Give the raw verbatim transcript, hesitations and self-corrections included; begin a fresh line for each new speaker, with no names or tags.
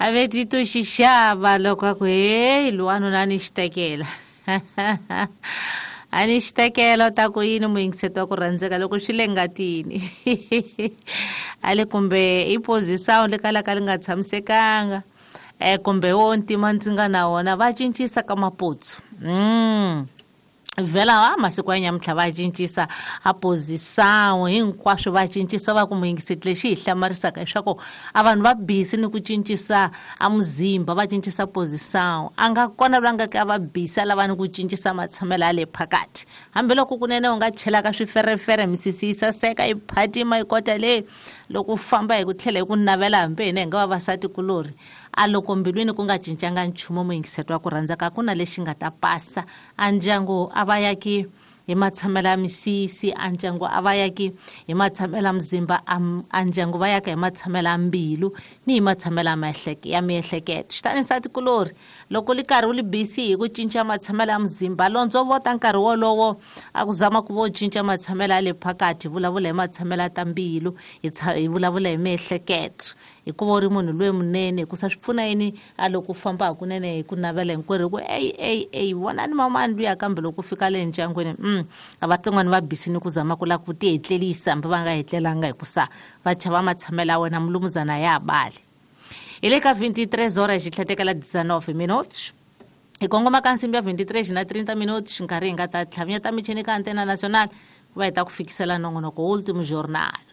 A ve ti to xi xava loko a ku heyi lowanuna a ni xi tekela a ni xi tekela u ta ku yini muyingiseti wa ku rhandzeka loko swi le ngatini a le kumbe i position le kalaka li nga tshamisekanga um kumbe wo ntima ndzi nga na wona va cincisa ka maputsu mm. Vhela a masiku ya nyamuntlha va cincisa a position hinkwaswo va cincisa va ku muyingiseti lexi hi hlamarisaka leswaku a vanhu va busy ni ku cincisa a muzimba va cincisa position a nga kona loyi a nga ke a va busy a lava ni ku cincisa matshamelo ya le phakathi hambiloko kunene u nga chelaka swiferefere misisi yi saseka yi phatima yi kota leyi loko u famba hi ku tlhela hi ku navela hambi hina hi nga vavasati kulorhi a loko mbilwini ku nga cincanga nchumu muyingiseti wa ku rhandzaka ku na lexi nga ta pasa a ndyangu a va yaki hi matshamelo ya misisi a ndyangu a va yaki hi matshamelo ya muzimba a ndyangu va yaka hi matshamelo ya mbilu ni hi matshamelo ya ya miehleketo xitani nsati kulorhi loko li karhi u li busy hi ku cinca matshamelo ya muzimba londzo vota nkarhi wolowo a ku zama ku vo cinca matshamelo ya le phakathi hi vulavula hi matshamelo ya ta mbilu hi hi vulavula hi miehleketo hikuva u ri munhu loyi munene hikusa swi pfuna yini a loko u famba hakunene hi ku navela hinkwerhu hi ku eyi eyi eyi vonani mamani luya kambe loko u fika le ndyangwini mm a vatsongwana va busy ni ku zama ku lava ku ti hetlelisa hambi va nga hetlelanga hikusa va chava matshamelo ya wena mulumuzana ya bali hi le ka veintitrés horas xi tlhetekela dezanove minutos hi kongoma ka nsimbi ya veintitrés na trinta minutos nkarhi hi nga ta tlhavinyeta michini ka Antena Nacional ku va hi ta ku fikisela nongonoko Último Jornal.